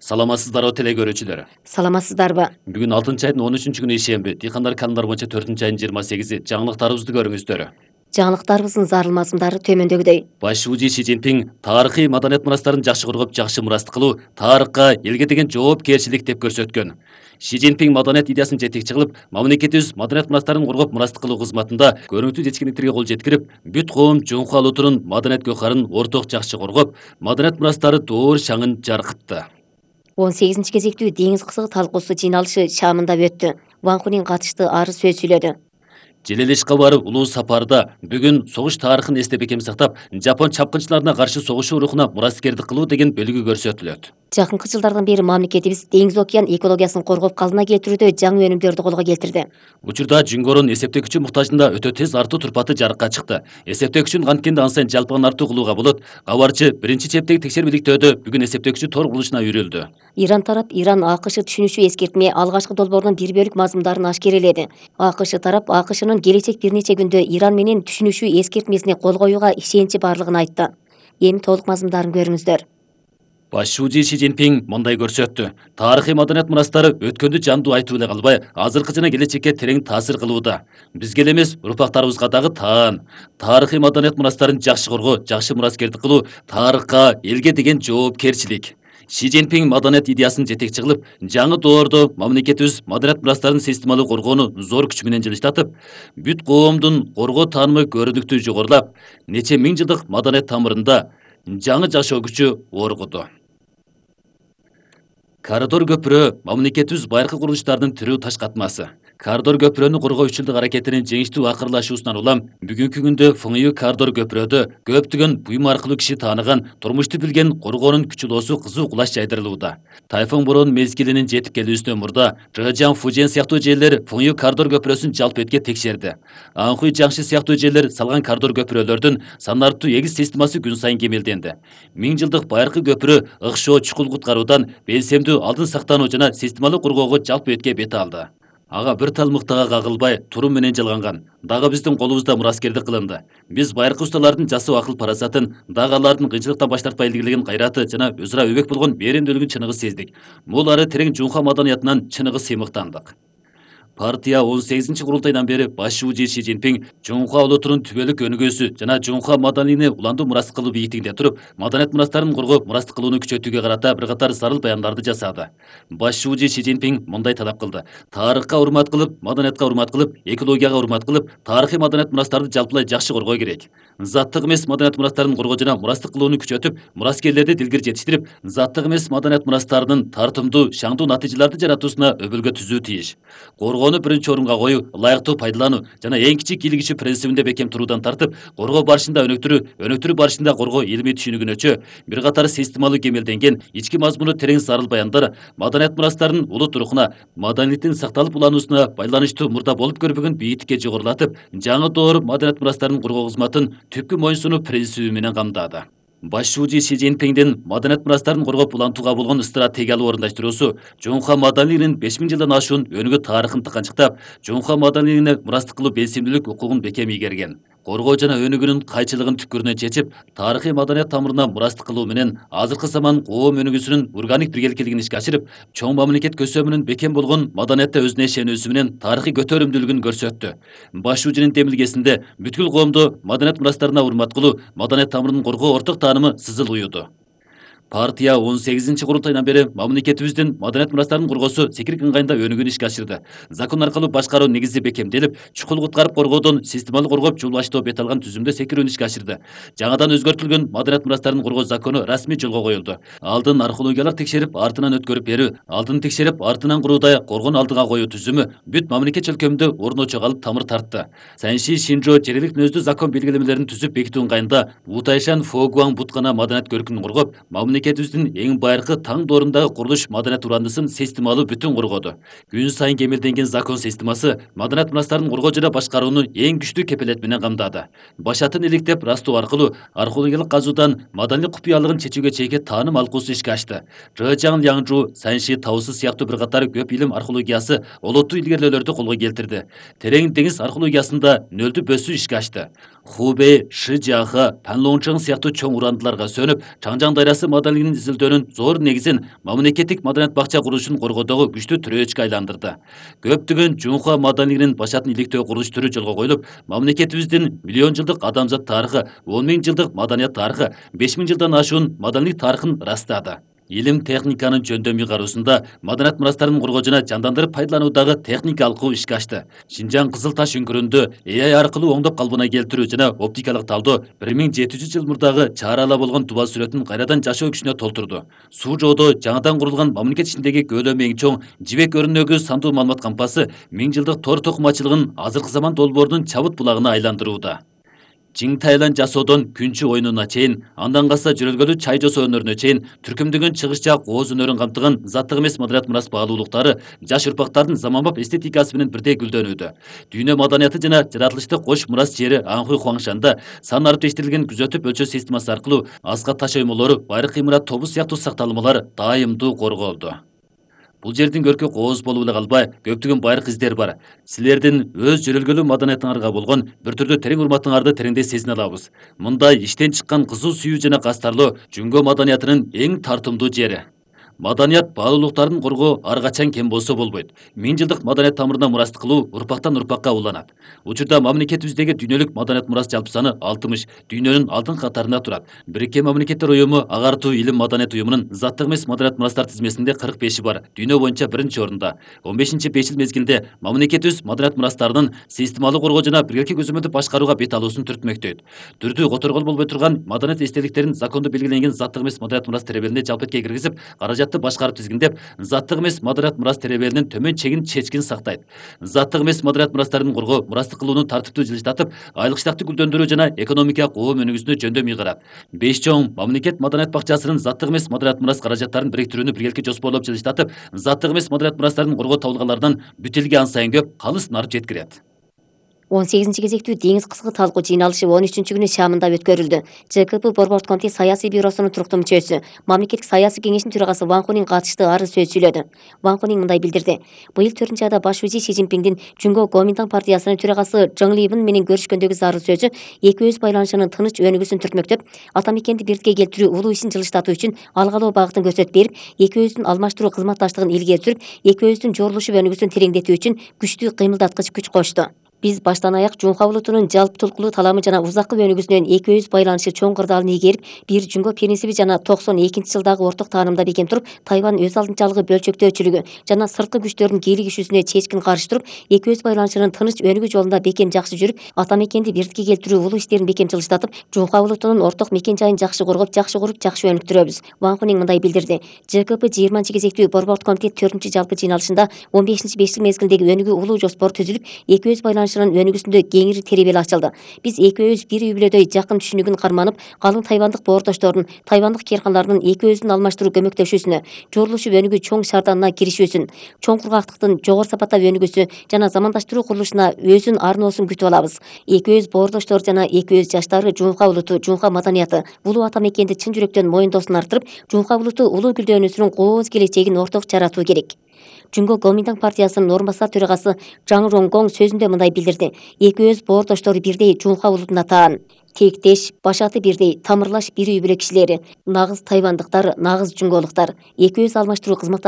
Саламатсыздарбы теле көрүүчүлөр. Саламатсыздарбы? Бүгүн 6-айдын 13-күнү ишемби, дыйкандар календар боюнча 4-айдын 28-и. Жаңылыктарыбызды көрүңүздөр. Жаңылыктарыбыздын зарылмасымдары төмөндөгүдөй. Баш шуужу Си Цзиньпин тарыхый маданият мурастарын жакшы коргоп, жакшы мурастык кылуу тарыхка, элге деген жоопкерчилик деп көрсөткөн. Си Цзиньпин маданият идеясын жетекчи кылып, мамлекетибиз маданият мурастарын коргоп, мурастык кылуу кызматында көрүнүктүү жетишкендиктерге кол жеткирип, бүт коом жоңку алуутунун маданият гөкарын орток жакшы коргоп, маданият мурастары доор шаңын жаркытты. 18 кезектүү деңиз кызыгы талкуусу жыйналышы Шамында өттү. Ван Хунин катышты, ары сөз сүйлөдү. Желелешка барып улуу сапарда бүгүн согуш тарыхын эстеп экем сактап, Жапон чапкынчыларына каршы согушуу рухуна мураскердик кылуу деген белги көрсөтүлөт. Жакынкы жылдардан бери мамлекетибиз деңиз океан экологиясын коргоп, калыбына келтирүүдө жаңы өнүмдөрдү колго келтирди. Учурда Жүнгөрүн эсептегичи муктажында өтө тез артуу турпаты жарыкка чыкты. Эсептегичин анткенде ан сайын жалпыган артуу кылууга болот. Кабарчы биринчи чептеги текшермеликтөөдө бүгүн эсептегичи тор курулушуна үйрүлдү. Иран тарап Иран АКШ түшүнүшү эскертме алгачкы долбоорунун бир бөлүк мазмундарын ашкереледи. АКШ тарап АКШнын келечек бир нече күндө Иран менен түшүнүшү эскертмесине кол коюуга ишеничи барлыгын айтты. Эми толук мазмундарын көрүңүздөр. Баш шуужу Си Цзиньпин мындай көрсөттү. Тарыхый маданият мурастары өткөндү жандуу айтып эле калбай, азыркы жана келечекке терең таасир кылууда. Бизге эле эмес, урпактарыбызга дагы таан. Тарыхый маданият мурастарын жакшы коргоо, жакшы мураскердик кылуу тарыхка, элге деген жоопкерчилик. Си Цзиньпин маданият идеясын жетекчи кылып, жаңы доордо мамлекетибиз маданият мурастарын системалуу коргоону зор күч менен жылыштатып, бүт коомдун коргоо таанымы көрүнүктүү жогорулап, нече миң жылдык маданият тамырында жаңы жашоо күчү оргуду. Коридор көпүрө мамлекетибиз байыркы курулуштардын тирүү таш катмасы. Коридор көпүрөнү коргоо 3 жылдык аракетинин жеңиштүү акырлашуусунан улам бүгүнкү күндө Фыңюй коридор көпүрөдө көптөгөн буюм аркылуу киши тааныган, турмушту билген коргоонун күчүлоосу кызуу кулаш жайдырылууда. Тайфун борон мезгилинин жетип келүүсүнөн мурда Жэжан, Фужен сыяктуу жерлер Фыңюй коридор көпүрөсүн жалпы этке текшерди. Анхуй, Жаңши сыяктуу жерлер салган коридор көпүрөлөрдүн санартуу эгиз системасы күн сайын кемелденди. 1000 жылдык байыркы көпүрө ыкшоо, чукул куткаруудан белсемдүү алдын сактануу жана системалуу коргоого жалпы этке бет алды. Ага бир тал мыктага кагылбай, турум менен жалганган. Дагы биздин колубузда мураскердик кылынды. Биз байыркы усталардын жасоо акыл парасатын, дагы алардын кыйынчылыктан баш тартпай илгерилеген кайраты жана өз ара өбөк болгон беремдүүлүгүн чыныгы сездик. Бул ары терең жунха маданиятынан чыныгы сыймыктандык. Партия 18 курултайдан бери баш шуужу Си Цзиньпин жоңку алуутунун түбөлүк өнүгүүсү жана жоңку маданийни уландуу мурастык кылуу бийиктигинде туруп, маданият мурастарын коргоп, мурастык кылууну күчөтүүгө карата бир катар зарыл баяндарды жасады. Баш шуужу Си Цзиньпин мындай талап кылды. Тарыхка урмат кылып, маданиятка урмат кылып, экологияга урмат кылып, тарыхый маданият мурастарды жалпылай жакшы коргоо керек. Заттык эмес маданият мурастарын коргоо жана мурастык кылууну күчөтүп, мураскерлерди дилгир жетиштирип, заттык эмес маданият мурастарынын тартымдуу, шаңдуу натыйжаларды жаратуусуна өбөлгө түзүү тийиш. Коргоону биринчи орунга коюу, ылайыктуу пайдалануу жана эң кичик ийгилигичи принцибинде бекем туруудан тартып, коргоо барышында өнүктүрүү барышында коргоо илимий түшүнүгүнөчө бир катар системалуу кемелденген, ички мазмуну терең зарыл баяндар маданият мурастарынын улут рухуна, маданиятын сакталып улануусуна байланыштуу мурда болуп көрбөгөн бийиктикке жогорулатып, жаңы доор маданият мурастарынын коргоо кызматын түпкү моюнсунуу принциби менен камдады. Баш шуужу Си Цзиньпиндин маданият мурастарын коргоп улантууга болгон стратегиялуу орундаштыруусу жоңку маданийлигинин 5000 жылдан ашуун өнүгүү тарыхын тыканчыктап, жоңку маданийлигине мурастык кылуу белсемдүүлүк укугун бекем ийгерген. Коргоо жана өнүгүүнүн кайчылыгын түпкүрүнөн чечип, тарыхый маданият тамырына мурастык кылуу менен азыркы заман коом өнүгүүсүнүн органик биргеликчилигин ишке ашырып, чоң мамлекет көсөмүнүн бекем болгон маданиятта өзүнө ишенүүсү менен тарыхый көтөрүмдүүлүгүн көрсөттү. Баш шуужунун демилгесинде бүткүл коомдо маданият мурастарына урмат кылуу, маданият тамырын коргоо орток таанымы сызыл уюуду. Партия 18 курултайдан бери мамлекетибиздин маданият мурастарынын коргоосу секирик ыңгайында өнүгүүнү ишке ашырды. Закон аркылуу башкаруу негизи бекемделип, чукул куткарып коргоодон системалуу коргоп жол баштоо бет алган түзүмдө секирүүнү ишке ашырды. Жаңадан өзгөртүлгөн маданият мурастарынын коргоо закону расмий жолго коюлду. Алдын археологиялык текшерип, артынан өткөрүп берүү, алдын текшерип, артынан куруудай коргону алдыга коюу түзүмү бүт мамлекет чөлкөмүндө орночо калып тамыр тартты. Санши Шинжо жергиликтүү мүнөздүү закон белгилемелерин түзүп бекитүү ыңгайында Утайшан Фогуан буткана маданият көркүн коргоп, мамлекетибиздин эң байыркы таң доорундагы курулуш маданият урандысын системалуу бүтүн коргоду. Күн сайын кемелденген закон системасы маданият мурастарын коргоо жана башкарууну эң күчтүү кепилет менен камдады. Башатын иликтеп растоо аркылуу археологиялык казуудан маданий купуялыгын чечүүгө чейинки тааным алкуусу ишке ашты. Жэжан, Янжу, Санши, Таусу сыяктуу бир катар көп илим археологиясы олоттуу илгерилөөлөрдү колго келтирди. Терең деңиз археологиясында нөлдүү бөсүү ишке ашты. Хубэй, Шижиаха, Панлончоң сыяктуу чоң урандыларга сөнүп, Чаңжаң дайрасы маданилигинин изилдөөнүн зор негизин мамлекеттик маданият бакча курулушун коргоодогу күчтүү тирөөчкө айландырды. Көптөгөн Жунхва маданилигинин башатын иликтөө курулуш түрү жолго коюлуп, мамлекетибиздин миллион жылдык адамзат тарыхы, 10 000 жылдык маданият тарыхы, 5 000 жылдан ашуун маданийлик тарыхын ырастады. Илим техниканын жөндөмү кароосунда маданият мурастарын коргоо жана жандандырып пайдалануудагы техника алкуу ишке ашты. Шинжаң Кызыл Таш үңкүрүндө AI аркылуу оңдоп калыбына келтирүү жана оптикалык талдоо 1700 жыл мурдагы чаарала болгон туба сүрөтүн кайрадан жашоо күчүнө толтурду. Суу жоодо жаңадан курулган мамлекет ичиндеги көлөмү эң чоң жибек өрнөгү сандуу маалымат кампасы 1000 жылдык тор токумачылыгын азыркы заман долбоорунун чабыт булагына айландырууда. Чиң Тайланд жасоодон күнчү оюнуна чейин, андан калса жөрөлгөлүү чай жасоо өнөрүнө чейин түркүмдөгөн чыгыш жак ооз өнөрүн камтыган заттык эмес маданият мурас баалуулуктары жаш урпактардын заманбап эстетикасы менен бирдей гүлдөнүүдө. Дүйнө маданияты жана жаратылышты кош мурас жери Анхуй Хуаңшанда сан ариптештирилген күзөтүп өлчөө системасы аркылуу аска таш оймолору, байыркы имарат тобу сыяктуу сакталмалар дайымдуу корголду. Бул жердин көркү кооз болуп эле калбай, көптөгөн байыркы издер бар. Силердин өз жөрөлгөлүү маданиятыңарга болгон бир түрдүү терең урматыңарды тереңдей сезине алабыз. Мындай иштен чыккан кызуу сүйүү жана кастарлоо Жүнгө маданиятынын эң тартымдуу жери. Маданият баалуулуктарын коргоо ар качан кем болсо болбойт. 1000 жылдык маданият тамырына мурастык кылуу урпактан урпакка уланат. Учурда мамлекетибиздеги дүйнөлүк маданият мурас жалпы саны 60, дүйнөнүн алдын катарында турат. Бириккен Мамлекеттер уюму Агартуу илим маданият уюмунун заттык эмес маданият мурастар тизмесинде 45 бар, дүйнө боюнча 1-орунда. 15-5 жыл мезгилинде мамлекетибиз маданият мурастарынын системалуу коргоо жана биргеликке көзөмөлдүп башкарууга бет алуусун түртмөктөйт. Түрдүү которгол болбой турган маданият эстеликтерин закондуу белгиленген заттык эмес маданият мурас теребелине жалпетке киргизип, каражатты башкарып тизгиндеп, заттык эмес маданият мурас теребелинин төмөн чегин чечкин сактайт. Заттык эмес маданият мурастарын коргоо, мурастык кылууну тартиптүү жылыштатып, айлык штатты гүлдөндүрүү жана экономикалык оом өнүгүүсүнө жөндөм ыйгарат. 5 чоң мамлекет маданият бакчасынын заттык эмес маданият мурас каражаттарын бириктирүүнү биргеликке жоспорлоп жылыштатып, заттык эмес маданият мурастарын коргоо табылгандардан бүт элге ан сайын көп калыс нарып жеткирет. 18-кезектүү деңиз кызгы талкуу жыйналышы 13-күнү Шамында өткөрүлдү. ЖКП Борбордук комитет саясий бюросунун туруктуу мүчөсү, мамлекеттик саясий кеңештин төрагасы Ван Хунин катышты арыз сөз сүйлөдү. Ван Хунин мындай билдирди. Быйыл 4-айда баш узи Си Цзиньпиндин Жүнгө Гоминтан партиясынын төрагасы Чжың Либин менен көрүшкөндөгү зарыл сөзү экөөбүз байланышынын тыныч өнүгүүсүн түртмөктөп, ата мекенди бирдикке келтирүү улуу ишин жылыштатуу үчүн алгалоо багытын көрсөтүп берип, экөөбүздүн алмаштыруу кызматташтыгын илгери сүрүп, экөөбүздүн жорулушуп өнүгүүсүн тереңдетүү үчүн күчтүү кыймылдаткыч күч кошту. Биз баштан аяк Жунхва улутунун жалпы тулкулуу таламы жана узаккы өнүгүүсүнөн экөөбүз байланышы чоң кырдаалын ийгерип, бир Жүнгө принциби жана 92-жылдагы орток таанымда бекем туруп, Тайвань өз алдынчалыгы бөлчөктөөчүлүгү жана сырткы күчтөрдүн кийлигишүүсүнө чечкин каршы туруп, экөөбүз байланышынын тыныч өнүгүү жолунда бекем жакшы жүрүп, ата мекенди бирдикке келтирүү улуу иштерин бекем жылыштатып, Жунхва улутунун орток мекен жайын жакшы коргоп, жакшы куруп, жакшы өнүктүрөбүз. Ван Хунин мындай билдирди. ЖКП 20-кезектүү Борбордук комитет 4-жалпы жыйналышында 15-5 жыл мезгилдеги өнүгүү улуу жоспор түзүлүп, экөөбүз байланышынын өнүгүүсүндө кеңири теребели ачылды. Биз экөөбүз бир үй бүлөдөй жакын түшүнүгүн карманып, калың тайвандык боордоштордун, тайвандык керканлардын экөөбүздүн алмаштыруу көмөктөшүүсүнө, жорулушуп өнүгүү чоң шаарданына киришүүсүн, чоң кургактыктын жогору сапаттап өнүгүүсү жана замандаштыруу курулушуна өзүн арноосун күтүп алабыз. Экөөбүз боордоштор жана экөөбүз жаштары Жунхва улуту, Жунхва маданияты, улуу ата мекенди чын жүрөктөн моюндоосун арттырып, Жунхва улуту улуу гүлдөнүүсүнүн кооз келечегин орток жаратуу керек. Жүнгө Гоминтан партиясынын орун басар төрагасы Жаң Ронгоң сөзүндө мындай билдирди. Экөөбүз боордоштору бирдей Жунхва улутуна таан. Тектеш, башаты бирдей, тамырлаш бир үй бүлө кишилери, нагыз тайвандыктар, нагыз жүнгөлуктар. Экөөбүз алмаштыруу кызматташтыгын